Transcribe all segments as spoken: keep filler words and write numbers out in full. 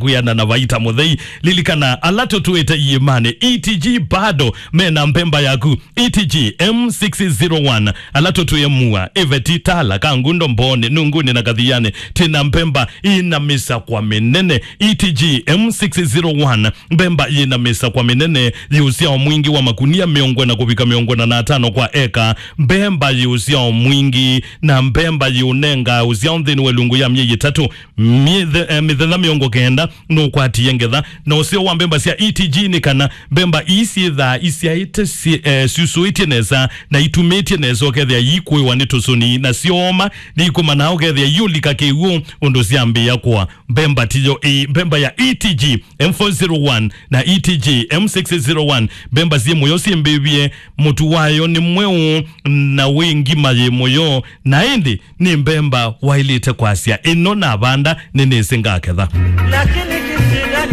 kwĩana na Vaita Mũthei. Lilikana, ala tũtwĩte iĩmanĩ, E T G bado mena mbemba yaku. E T G M six zero one, ala tũtwĩe Mua, Iveti, Tala, Kangundo, Mbooni, Nunguni na Kathiani, twĩna mbemba ĩna mĩsakwa mĩnene. E T G M six zero one, mbemba yĩna mĩsakwa mĩnene, yĩ ũsyao mwingĩ wa makunia mĩongo ĩna kũvika mĩongo ĩna na atano kwa eka. Mbemba yĩ ũsyao mwingĩ, na mbemba yĩũnenga ũsyao nthĩnĩ wa ĩlungu ya myei ĩtatũ. Mĩthe-, eh, mĩthenya mĩongo kenda nũkwatie ngetha. Na ũseo wa mbemba sya E T G nĩ kana mbemba ii syĩthaa isyaĩte syĩ-, eh, syusũĩtye nesa na itumĩtye nesa, ũkethĩa iikũĩwa nĩ tũsũni na syooma, nĩikũmanaa ũkethĩa iũlika kĩw'ũ ũndũ syambĩĩa kũa. Mbemba tiyo ĩĩ, mbemba ya E T G M four zero one na E T G M six zero one, mbemba syĩ mũyo syĩmbĩvye, mũtu wayo nĩ mweũ na wĩ ngima yĩ mũyo, na ĩndĩ nĩ mbemba waĩlĩte kwasya, "Ĩno navanda, nĩnĩsĩ ngaketha."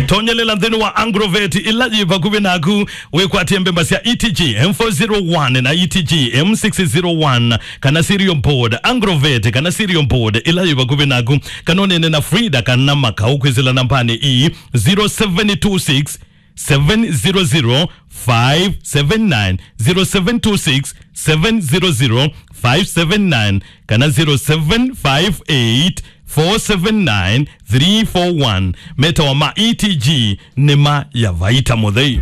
Tonyelela nthĩnĩ wa Agrovet ĩla yĩ vakuvĩ naku, wĩkwatye mbemba sya E T G M four zero one na E T G M six zero one, kana cereal board, Agrovet kana cereal board ĩla yĩ vakuvĩ naku, kana ũneene na Frida kana Makau kwĩsĩla nambanĩ ii, zero seven two six, seven zero zero, five seven nine, zero seven two six, seven zero zero, five seven nine, kana zero seven five eight, four seven nine, three four one. Metawa ma E T G, nĩ ma ya Vaita Mũthei.